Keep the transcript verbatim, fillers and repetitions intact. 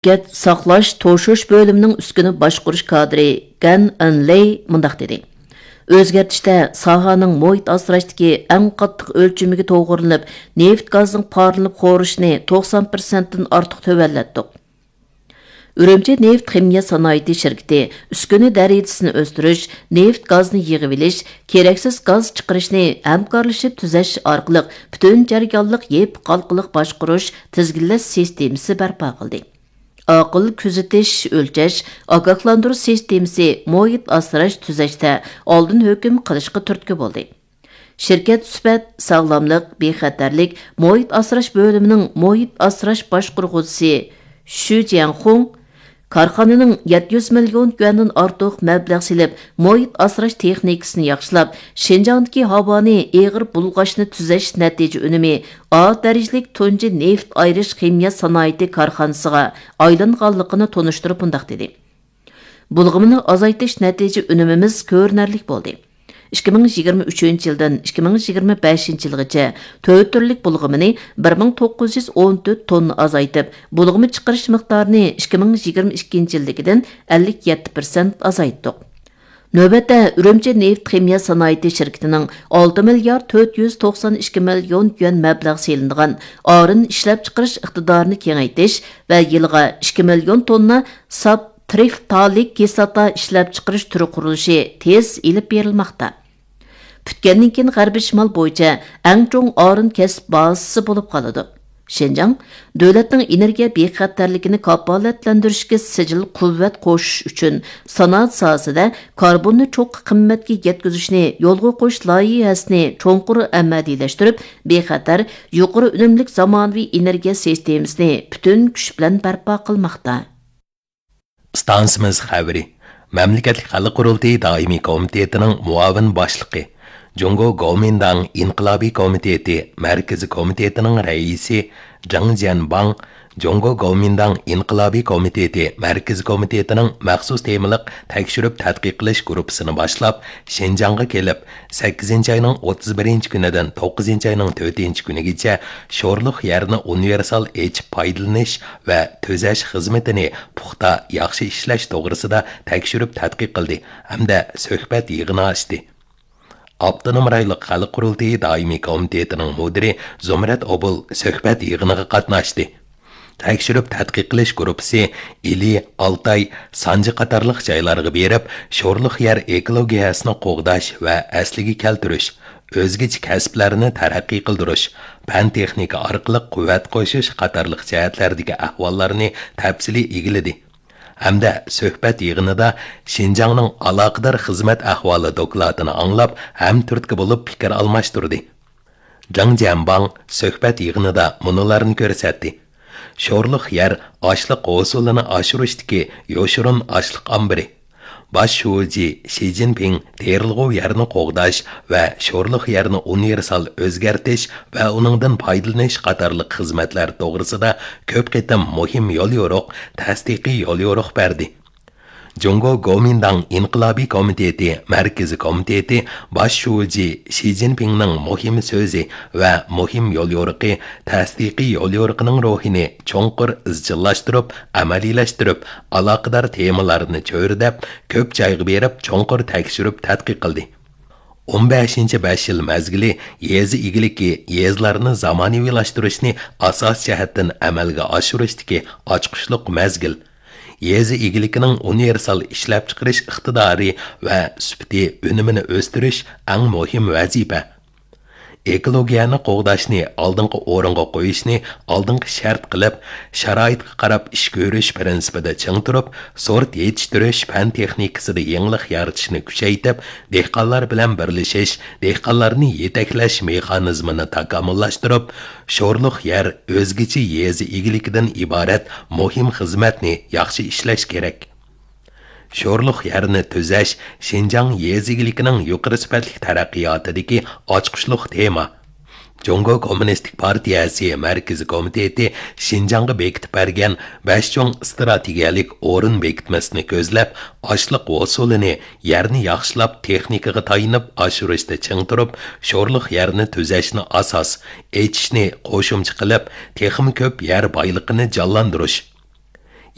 شىركەت ساقلاش، توشۇش بۆلۈمىنىڭ ئۈسكۈنە باشقۇرۇش كادىرى گەن ئېنلېي مۇنداق دېدى: ئۆزگەرتىشتە ساھەنىڭ مۇھىت ئاسراشتىكى ئەڭ قاتتىق ئۆلچىمىگە توغرىلىنىپ، نېفىت گازنىڭ پارلىنىپ خورىشىنى توقسان پىرسەنتتىن ئارتۇق تۆۋەنلەتتۇق. ئۈرۈمچى نېفىت خىمىيە سانائىتى شىركىتى ئۈسكۈنە دەرىجىسىنى ئۆستۈرۈش، نېفىت گازنى يىغىۋېلىش، كېرەكسىز گاز چىقىرىشنى ھەمكارلىشىپ تۈزەش ئارقىلىق پۈتۈن جەريانلىق يېپىق ھالقىلىق باشقۇرۇش، تىزگىنلەش سىستېمىسى بەرپا قىلدى. ئاقىل كۆزىتىش، ئۆلچەش، ئاگاھلاندۇرۇش سىستېمىسى مۇھىت ئاسراش تۈزەشتە ئالدىن ھۆكۈم قىلىشقا تۈرتكە بولدى. شىركەت سۈپەت، ساغلاملىق، بىخەتەرلىك، مۇھىت ئاسراش بۆلۈمىنىڭ مۇھىت ئاسراش باشقۇرغۇچىسى شۈ جيەنخۇڭ كارخانىنىڭ يەتتە يۈز مىليون يۈەندىن ئارتۇق مەبلەغ سېلىپ، مۇھىت ئاسراش تېخنىكىسىنى ياخشىلاپ، شىنجاڭدىكى ھاۋانى ئېغىر بۇلغاشنى تۈزەش نەتىجە ئۈنۈمى ئا دەرىجىلىك تۇنجى نېفىت ئايرىش خىمىيە سانائىتى كارخانىسىغا ئايلانغانلىقىنى تونۇشتۇرۇپ مۇنداق دېدى: بۇلغىمىنى ئازايتىش نەتىجە ئۈنۈمىمىز كۆرۈنەرلىك بولدى. ئىككى مىڭ يىگىرمە ئۈچىنچى يىلدىن ئىككى مىڭ يىگىرمە بەشىنچى يىلغىچە تۆت تۈرلۈك بۇلغىمىنى بىر مىڭ توققۇز يۈز ئون تۆت توننا ئازايتىپ، بۇلغىما چىقىرىش مىقدارىنى ئىككى مىڭ يىگىرمە ئىككىنچى يىلدىكىدىن ئەللىك يەتتە پىرسەنت ئازايتتۇق. نۆۋەتتە ئۈرۈمچى نېفىت خىمىيە سانائىتى شىركىتىنىڭ ئالتە مىليارد تۆت يۈز توقسان ئىككى مىليون يۈەن مەبلەغ سېلىنغان ئارىن ئىشلەپچىقىرىش ئىقتىدارىنى كېڭەيتىش ۋە يىلىغا ئىككى مىليون توننا ساپ ترىفتالىك كىسلاتا ئىشلەپچىقىرىش تۈرى قۇرۇلۇشى تېز ئېلىپ بېرىلماقتا. پۈتكەندىن كېيىن غەربىي شىمال بويىچە ئەڭ چوڭ ئارىن كەسىپ بازىسى بولۇپ قالىدۇ. شىنجاڭ دۆلەتنىڭ ئېنېرگىيە بىخەتەرلىكىنى كاپالەتلەندۈرۈشكە سىجىل قۇۋۋەت قوشۇش ئۈچۈن سانائەت ساھەسىدە كاربوننى چوققا قىممەتكە يەتكۈزۈشنى يولغا قويۇش لايىھەسىنى چوڭقۇر ئەمەلىيلەشتۈرۈپ، بىخەتەر، يۇقىرى ئۈنۈملۈك زامانىۋى ئېنېرگىيە سىستېمىسىنى پۈتۈن كۈچ بىلەن بەرپا قىلماقتا. ئىستانسىمىز خەۋىرى. مەملىكەتلىك خەلق قۇرۇلتىيى دائىمىي كومىتېتىنىڭ مۇئاۋىن باشلىقى، جۇڭگو گومىنداڭ ئىنقىلابىي كومىتېتى مەركىزىي كومىتېتىنىڭ رەئىسى جېڭ جيەنباڭ جۇڭگو گومىنداڭ ئىنقىلابىي كومىتېتى مەركىزىي كومىتېتىنىڭ مەخسۇس تېمىلىق تەكشۈرۈپ تەتقىق قىلىش گۇرۇپپىسىنى باشلاپ، شىنجاڭغا كېلىپ، سەككىزىنچى ئاينىڭ ئوتتۇز بىرىنچى كۈنىدىن توققۇزىنچى ئاينىڭ تۆتىنچى كۈنىگىچە شورلۇق يەرنى ئۇنىۋېرسال ئېچىپ پايدىلىنىش ۋە تۈزەش خىزمىتىنى پۇختا، ياخشى ئىشلەش توغرىسىدا تەكشۈرۈپ تەتقىق قىلدى ھەمدە سۆھبەت يىغىنى ئاچتى. ئاپتونوم رايونلۇق خەلق قۇرۇلتىيى دائىمىي كومىتېتىنىڭ مۇدىرى زۇمرەت ئوبۇل سۆھبەت يىغىنىغا قاتناشتى. تەكشۈرۈپ تەتقىق قىلىش گۇرۇپپىسى ئىلى، ئالتاي، سانجى قاتارلىق جايلارغا بېرىپ، شورلۇق يەر ئېكولوگىيەسىنى قوغداش ۋە ئەسلىگە كەلتۈرۈش، ئۆزگىچە كەسىپلەرنى تەرەققىي قىلدۇرۇش، پەن تېخنىكا ئارقىلىق قۇۋۋەت قوشۇش قاتارلىق جەھەتلەردىكى ئەھۋاللارنى تەپسىلىي ئىگىلىدى ھەمدە سۆھبەت يىغىنىدا شىنجاڭنىڭ ئالاقىدار خىزمەت ئەھۋالى دوكلاتىنى ئاڭلاپ، ھەمتۈرتكە بولۇپ پىكىر ئالماشتۇردى. جاڭ جيەنباڭ سۆھبەت يىغىنىدا مۇنۇلارنى كۆرسەتتى: شورلۇق يەر ئاشلىق ھوسۇلىنى ئاشۇرۇشتىكى يوشۇرۇن ئاشلىق ئامبىرى. باش شۇجى شى جىنپىڭ تېرىلغۇ يەرنى قوغداش ۋە شورلۇق يەرنى ئۇنىۋېرسال ئۆزگەرتىش ۋە ئۇنىڭدىن پايدىلىنىش قاتارلىق خىزمەتلەر توغرىسىدا كۆپ قېتىم مۇھىم يوليورۇق، تەستىقىي يوليورۇق بەردى. جۇڭگو گومىنداڭ ئىنقىلابىي كومىتېتى مەركىزىي كومىتېتى باش شۇجى شى جىنپىڭنىڭ مۇھىم سۆزى ۋە مۇھىم يوليورۇقى، تەستىقىي يوليورۇقىنىڭ روھىنى چوڭقۇر ئىزچىللاشتۇرۇپ، ئەمەلىيلەشتۈرۈپ، ئالاقىدار تېمىلارنى چۆرىدەپ، كۆپ جايغا بېرىپ، چوڭقۇر تەكشۈرۈپ تەتقىق قىلدى. ئون بەشىنچى بەش يىل مەزگىلى يېزا ئىگىلىكى، يېزىلارنى زامانىۋىلاشتۇرۇشنى ئاساسىي جەھەتتىن ئەمەلگە ئاشۇرۇشتىكى ئاچقۇچلۇق مەزگىل. يېزا ئىگىلىكىنىڭ ئۇنىۋېرسال ئىشلەپچىقىرىش ئىقتىدارى ۋە سۈپىتى ئۈنۈمىنى ئۆستۈرۈش ئەڭ مۇھىم ۋەزىپە. ئېكولوگىيەنى قوغداشنى ئالدىنقى ئورۇنغا قويۇشنى ئالدىنقى شەرت قىلىپ، شارائىتقا قاراپ ئىش كۆرۈش پىرىنسىپىدا چىڭ تۇرۇپ، سورت يېتىشتۈرۈش پەن تېخنىكىسىدا يېڭىلىق يارىتىشنى كۈچەيتىپ، دېھقانلار بىلەن بىرلىشىش، دېھقانلارنى يېتەكلەش مېخانىزمىنى تاكامۇللاشتۇرۇپ، شورلۇق يەر ئۆزگىچە يېزا ئىگىلىكىدىن ئىبارەت مۇھىم خىزمەتنى ياخشى ئىشلەش كېرەك. شورلۇق يەرنى تۈزەش شىنجاڭ يېزا ئىگىلىكىنىڭ يۇقىرى سۈپەتلىك تەرەققىياتىدىكى ئاچقۇچلۇق تېما. جۇڭگو كوممۇنىستىك پارتىيەسى مەركىزىي كومىتېتى شىنجاڭغا بېكىتىپ بەرگەن بەش چوڭ ئىستراتېگىيەلىك ئورۇن بېكىتمىسىنى كۆزلەپ، ئاشلىق ھوسۇلىنى، يەرنى ياخشىلاپ، تېخنىكىغا تايىنىپ ئاشۇرۇشتا چىڭ تۇرۇپ، شورلۇق يەرنى تۈزەشنى ئاساس، ئېچىشنى قوشۇمچە قىلىپ، تېخىمۇ كۆپ يەر بايلىقىنى جانلاندۇرۇش،